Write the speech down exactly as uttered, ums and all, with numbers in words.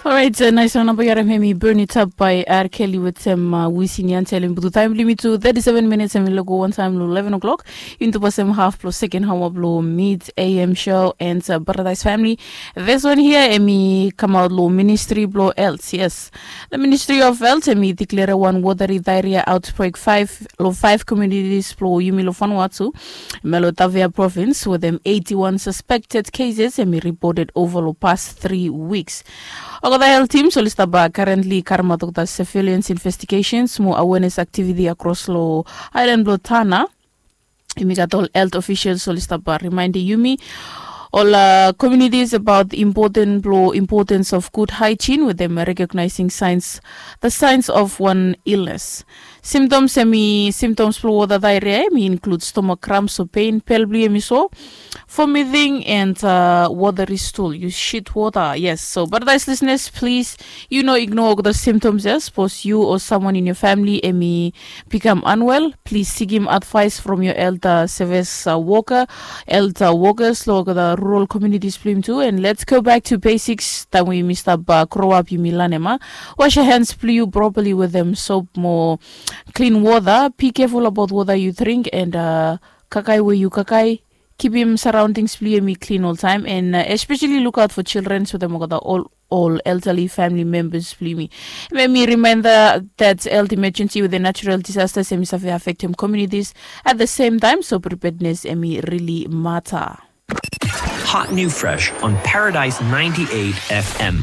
Orait, nais wan namba yu harim hem i burn it up by R Kelly wetem Wisin Yandel. Hem i putum taem blong yumi tu thirty-seven minutes, hem i lago wantaem long eleven o'clock. Yumi tu pasem haf blong seken haoa blong Mid A M show and Paradise Family. This one here, hem i kamaot long Ministry blong Health. Yes, the Ministry of Health hem i diklere wan watery diarrhea outbreak five long five communities blong yumi long Vanuatu, Melotavia province, wetem eighty-one suspected cases hem i reported over long past three weeks. Olgeta health teams oli stap currently karemaot olgeta surveillance investigations mo awareness activity across long island blong Tanna. Yumi gat ol health officials oli stap reminding yumi ol communities about the important blong importance of good hygiene wetem recognizing signs, the signs of one illness. Symptoms hem i symptoms blong water diarrhea hem i include stomach cramps o pain, pel blong yu hem i so, vomiting and watery stool. You shit water. Yes, so Paradise listeners, please, you know, ignore olgeta symptoms ya. Sapos yu o someone in your family hem i bikam unwell, please sikim advice from your health service worker, health workers long olgeta rural communities blong yumi tu. And let's go back to basics. Taem we yumi stap grow up yumi lanem, a, wash your hands blong yu properly wetem soap mo clean water. Be careful about water you drink and kakae we yu kakae. Kipim surroundings blong yu hem i clean oltaem, and especially look out for children wetem olgeta ol ol elderly family members blong yumi. Hem hem i reminder that health emergency wetem natural disasters hem i save affectem communities at the same time, so preparedness hem i really matter. Hot new fresh on Paradise ninety-eight F M.